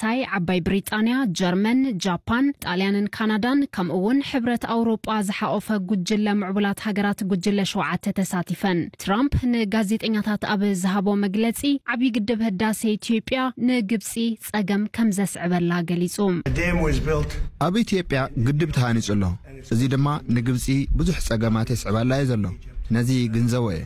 ፈረንሳይ፣ ዓባይ ብሪጣንያ፣ ጀርመን፣ ጃፓን፣ ጣልያንን ካናዳን፣ ከምኡ እውን ሕብረት ኣውሮጳ ዝሓቖፈ ጉጅለ ምዕቡላት ሃገራት ጉጅለ ሸውዓተ ተሳቲፈን። ትራምፕ ንጋዜጠኛታት ኣብ ዝሃቦ መግለጺ፣ ዓብዪ ግድብ ህዳሴ ኢትዮጵያ ንግብጺ ጸገም ከም ዘስዕበላ ገሊጹ። ኣብ ኢትዮጵያ ግድብ ተሃኒጹ ኣሎ። እዚ ድማ ንግብጺ ብዙሕ ጸገማት የስዕባላ እዩ ዘሎ። ነዚ ግንዘቦ እየ።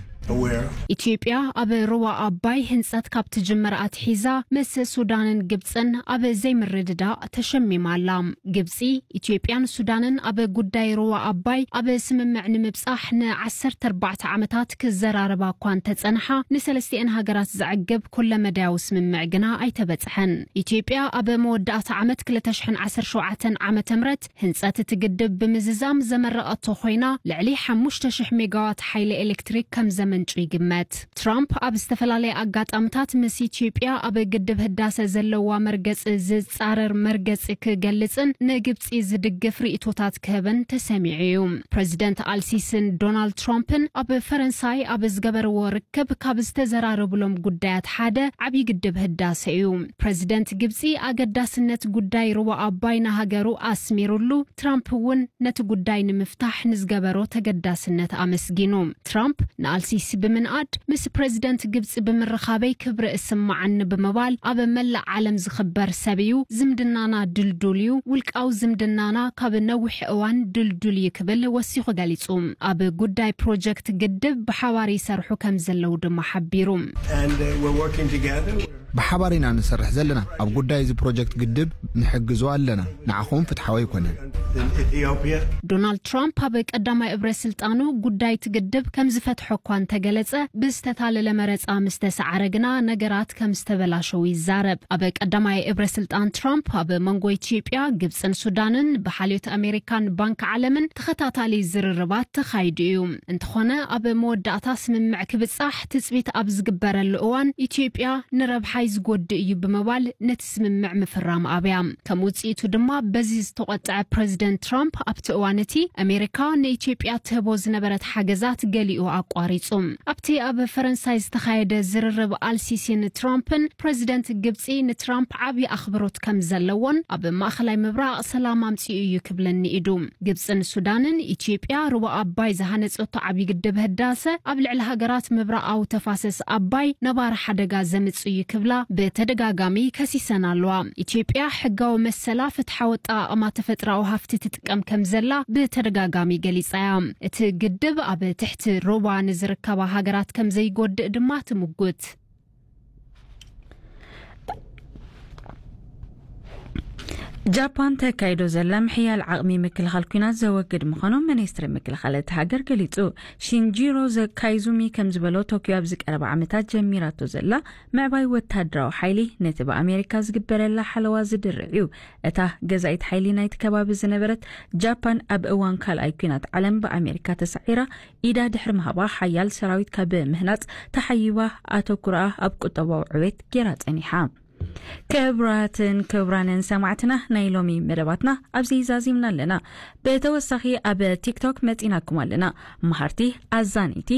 ኢትዮጵያ ኣብ ሩባ ኣባይ ህንጸት ካብ ትጅምር ኣትሒዛ ምስ ሱዳንን ግብጽን ኣብ ዘይምርድዳእ ተሸሚማ ኣላ። ግብጺ፣ ኢትዮጵያን ሱዳንን ኣብ ጉዳይ ሩባ ኣባይ ኣብ ስምምዕ ንምብጻሕ ን14 ዓመታት ክዘራረባ እኳ እንተጸንሓ፣ ንሰለስቲኤን ሃገራት ዘዕግብ ኩለመዳያዊ ስምምዕ ግና ኣይተበጽሐን። ኢትዮጵያ ኣብ መወዳእታ ዓመት ክልተ ሽሕን ዓሰርተ ሸውዓተን ዓመተ ምህረት ህንጸት እቲ ግድብ ብምዝዛም ዘመረቐቶ ኮይና፣ ልዕሊ ሓሙሽተ ሽሕ ሜጋዋት ሓይሊ ኤሌክትሪክ ከም ዘመንጩ ይግመት። ትራምፕ ኣብ ዝተፈላለየ ኣጋጣምታት ምስ ኢትዮጵያ ኣብ ግድብ ህዳሰ ዘለዋ መርገጺ ዝጻረር መርገጺ ክገልጽን ንግብጺ ዝድግፍ ርእይቶታት ክህብን ተሰሚዑ እዩ። ፕረዚደንት ኣልሲስን ዶናልድ ትራምፕን ኣብ ፈረንሳይ ኣብ ዝገበርዎ ርክብ ካብ ዝተዘራረቡሎም ጉዳያት ሓደ ዓብዪ ግድብ ህዳሰ እዩ። ፕረዚደንት ግብጺ ኣገዳስነት ጉዳይ ሩባ ኣባይ ንሃገሩ ኣስሚሩሉ፣ ትራምፕ እውን ነቲ ጉዳይ ንምፍታሕ ንዝገበሮ ተገዳስነት ኣመስጊኑ። ትራምፕ ንኣልሲሲ ብምንኣድ፣ ምስ ፕረዚደንት ግብጺ ብምርኻበይ ክብሪ እስምዓኒ ብምባል፣ ኣብ መላእ ዓለም ዝኽበር ሰብ እዩ፣ ዝምድናና ድልዱል እዩ፣ ውልቃዊ ዝምድናና ካብ ነዊሕ እዋን ድልዱል እዩ ክብል ወሲኹ ገሊጹ። ኣብ ጉዳይ ፕሮጀክት ግድብ ብሓባር ይሰርሑ ከም ዘለዉ ድማ ሓቢሩ። And uh, we're working together. ብሓባር ኢና ንሰርሕ ዘለና። ኣብ ጉዳይ እዚ ፕሮጀክት ግድብ ንሕግዞ ኣለና። ንዓኹም ፍትሓዊ ኣይኮነን። In Ethiopia. ዶናልድ ትራምፕ ኣብ ቀዳማይ እብረ ስልጣኑ ጉዳይ እቲ ግድብ ከም ዝፈትሖ እኳ እንተገለጸ፣ ብዝተታለለ መረጻ ምስ ተሰዓረ ግና ነገራት ከም ዝተበላሸው ይዛረብ። ኣብ ቀዳማይ እብረ ስልጣን ትራምፕ ኣብ መንጎ ኢትዮጵያ፣ ግብጽን ሱዳንን ብሓልዮት ኣሜሪካን ባንክ ዓለምን ተኸታታሊ ዝርርባት ተኻይዱ እዩ። እንተኾነ ኣብ መወዳእታ ስምምዕ ክብጻሕ ትጽቢት ኣብ ዝግበረሉ እዋን ኢትዮጵያ ንረብሓይ ዝጎድእ እዩ ብምባል ነቲ ስምምዕ ምፍራም ኣብያ። ከም ውጽኢቱ ድማ በዚ ዝተቖጥዐ ፕረዚደንት ትራምፕ ኣብቲ እዋን እቲ ኣሜሪካ ንኢትዮጵያ ትህቦ ዝነበረት ሓገዛት ገሊኡ ኣቋሪጹ። ኣብቲ ኣብ ፈረንሳይ ዝተኻየደ ዝርርብ ኣልሲሲን ትራምፕን ፕረዚደንት ግብጺ ንትራምፕ ዓብዪ ኣኽብሮት ከም ዘለዎን ኣብ ማእኸላይ ምብራቕ ሰላም ኣምጺኡ እዩ ክብልን ንኢዱ። ግብጽን ሱዳንን ኢትዮጵያ ሩባ ኣባይ ዝሃነጸቶ ዓብዪ ግድብ ህዳሰ ኣብ ልዕሊ ሃገራት ምብራቓዊ ተፋሰስ ኣባይ ነባሪ ሓደጋ ዘምጽእ እዩ ክብላ ብተደጋጋሚ ከሲሰን ኣለዋ። ኢትዮጵያ ሕጋዊ መሰላ ፍትሓዊ ኣጠቓቕማ ተፈጥሮኣዊ ሃፍቲ ትጥቀም ከም ዘላ ብተደጋጋሚ ገሊጻ እያ። እቲ ግድብ ኣብ ትሕቲ ሩባ ንዝርከባ ሃገራት ከም ዘይጎድእ ድማ ትምጉት። ጃፓን ተካይዶ ዘላ ምሕያል ዓቕሚ ምክልኻል ኲናት ዘወግድ ምዃኑ ሚኒስትሪ ምክልኻል እቲ ሃገር ገሊጹ። ሺንጂሮ ዘ-፣ ካይዙሚ ከም ዝበሎ፣ ቶኪዮ ኣብዚ ቀረባ ዓመታት ጀሚራቶ ዘላ ምዕባይ ወታደራዊ ሓይሊ ነቲ ብኣሜሪካ ዝግበረላ ሓለዋ ዝድርዕ እዩ። እታ ገዛኢት ሓይሊ ናይቲ ከባቢ ዝነበረት ጃፓን ኣብ እዋን ካልኣይ ኲናት ዓለም ብኣሜሪካ ተሳዒራ ኢዳ ድሕሪ ምሃባ ሓያል ሰራዊት ካብ ምህናጽ ተሓይባ ኣተኩራኣ ኣብ ቁጠባዊ ዕቤት ገይራ ጸኒሓ። ክቡራትን ክቡራንን ሰማዕትና፣ ናይ ሎሚ መደባትና ኣብዚ ዛዚምና ኣለና። ብተወሳኺ ኣብ ቲክቶክ መጺናኩም ኣለና። መሃርቲ፣ ኣዛነይቲ፣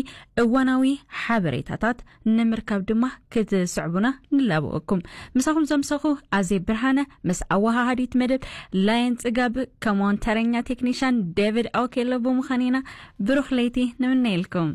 እዋናዊ ሓበሬታታት ንምርካብ ድማ ክትስዕቡና ንላበወኩም። ምሳኹም ዘምሰኹ ኣዜ ብርሃነ፣ ምስ ኣወሃሃዲት መደብ ላየን ጽጋብ፣ ከምኡውን ተረኛ ቴክኒሻን ዴቪድ ኦኬሎ ብምዃን ኢና። ብሩኽ ለይቲ ንምነየልኩም።